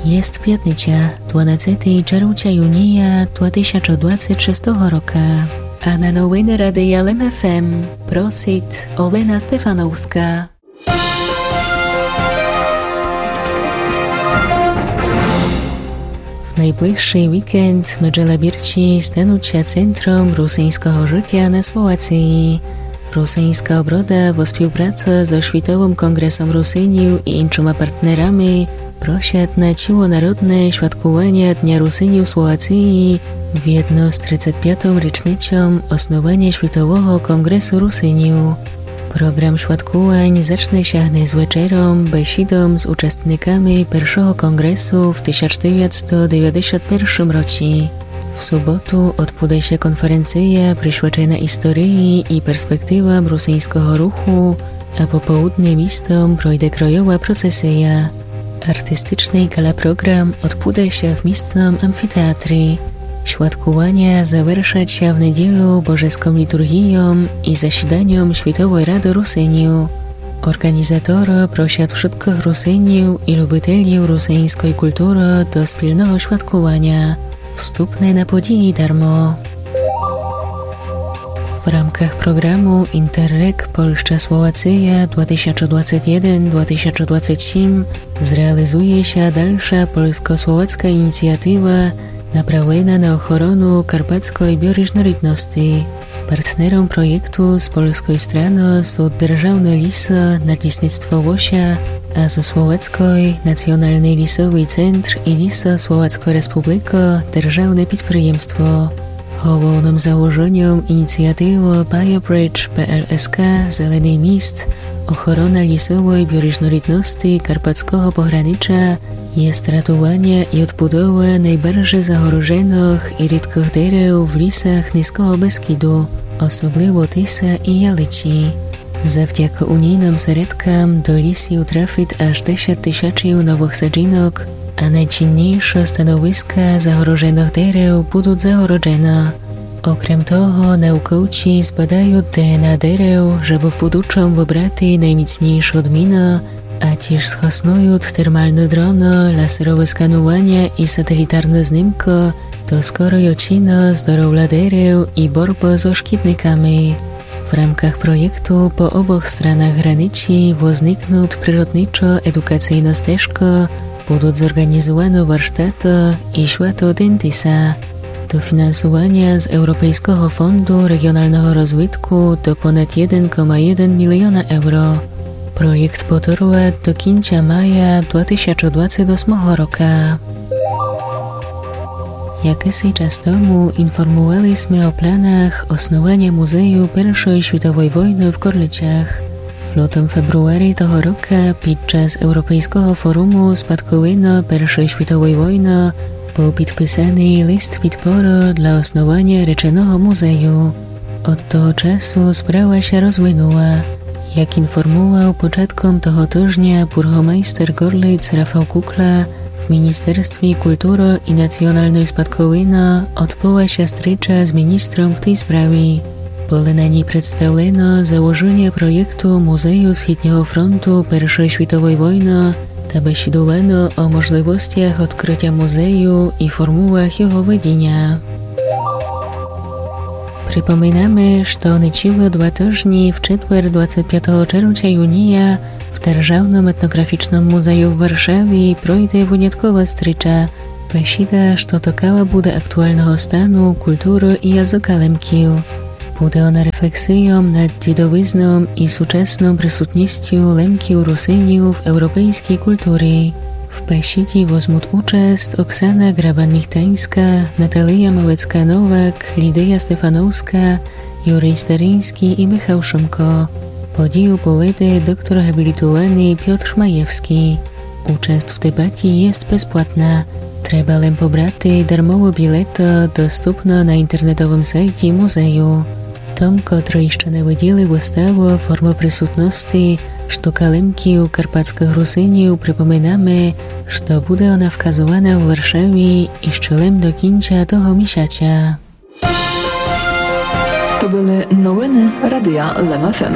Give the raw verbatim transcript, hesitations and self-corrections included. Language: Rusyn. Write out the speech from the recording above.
Єст пятниця, дванадцетый червця юния два тисячы двадцет шестого рока. А на новины Радия Лем ФМ просит Олена Стефановска. В найближшый вікенд меджелабірці станут ся центром русиньского жытя на Словациі. Русиньска оброда во співпраці зо Швітовым конґресом Русинів і іншыма партнерами просят на цілонародне швяткуваня Дня Русинів в Словациі вєдно з тридцет пятом річницьом основаня Швітового конґресу Русинів. Програм швяткувань зачне ся гнесь вечером, бесідом з участниками першого конґресу в тисяч девятсто девятдесят першым році. В суботу одбуде ся конференция присвячена історії і перспективам русиньского руху, а пополудне містом пройде кройова процесия. Артистичный гала-програм одбуде ся в містном амфітеатрі. Швяткуваня завершат ся в неділю божеском літурґійом і засіданьом Швітовой рады Русинів. Орґанізаторы просят вшыткых Русинів і любителів русиньской културы до спільного швяткуваня. Вступне на події дармо. В рамках програму Інтерреґ Польща-Словация два тисячы двадцет єден два тисячы двадцет сім зреалізує ся дальша польско-словацка ініціатива направлена на охорону карпатской біорізнорідности. Партнером проєкту з польской страны сут Державны лісы, Надлісництво Łosia, а зо словацкой Націоналный лісовый центр і Лісы Словацкой Республикы державне підприємство. Головным заложеньом ініціативы BioBridge P L S K Зеленый міст, охорона лісовой біорізнорідности карпатского погранича, єст ратуваня і одбудова найбарже загороженых і рідкых дерев в лісах Низкого Бескіду, особливо тисы і ялиці. Завдяка унійным середкам до лісів трафит аж десят тисячів новых саджінок, а найціннійшы становиска загороженых дерев будут загороджены. Окрем того, науковці збадают D N A дерев, жебы в будучом выбрати найміцнійшы одміны, а тіж схоснуют термалны дроны, лазерове скануваня і сателітарны знимкы до скорой оціны здоровля дерев і борбы зо шкідниками. В рамках проєкту по обох странах границі возникнут природничо-едукацийны стежкы, будут зорґанізуваны варштаты і свято Дентиса. Дофінансуваня з Европейского фонду реґіоналного розвитку то понад єден кома єден міліона евро. Проєкт потурват до кінця мая два тисячы двадцет осмого рока. Якысий час тому інформували сме о планах основаня музею Першой світовой войны в Корлицях. В лютым-фебруарі того рока під час Европейского форуму Спадковина Першой світовой войны был підписаный лист підпоры для основаня реченого музею. Од того часу справа ся розвинула. Як інформувал початком того тыжня бургомайстер Горлиц Рафал Кукла, в Міністерстві културы і націоналной спадковины одбыла ся стріча з міністром в тій справі. Были на ній представлены заложеня проєкту Музею Східного фронту Першой світовой войны та бесідувано о можливостях одкрытя музею і формулах його ведіня. Припоминаме, што нечілы два тыжні, в четвер, двадцет пятого червця юния, в Державным етнографічным музею в Варшаві пройде выняткова стріча, бесіда, што ткала буде актуалного стану културы і языка Лемків. Буде она рефлексийом над дідовизном і сучасном присутністю Лемків-Русинів в европейскій културі. В бесіді возмут участ Оксана Грабан-Міхтаньска, Наталия Малецка-Новак, Лідия Стефановска, Юрий Стариньскій і Михал Шумко. Подію поведе доктор габлітуваный Пьотр Шмаєвскій. Участ в дебаті єст безплатна. Треба лем побрати дармову білету, доступну на інтернетовым сайті музею. Тым, котры іщы не виділи выставу формы присутности, што Лемків, карпатскых Русинів, припоминаме, што буде она вказувана в Варшаві іщы лем до кінця того місяця. То были новины Радия Лем ФМ.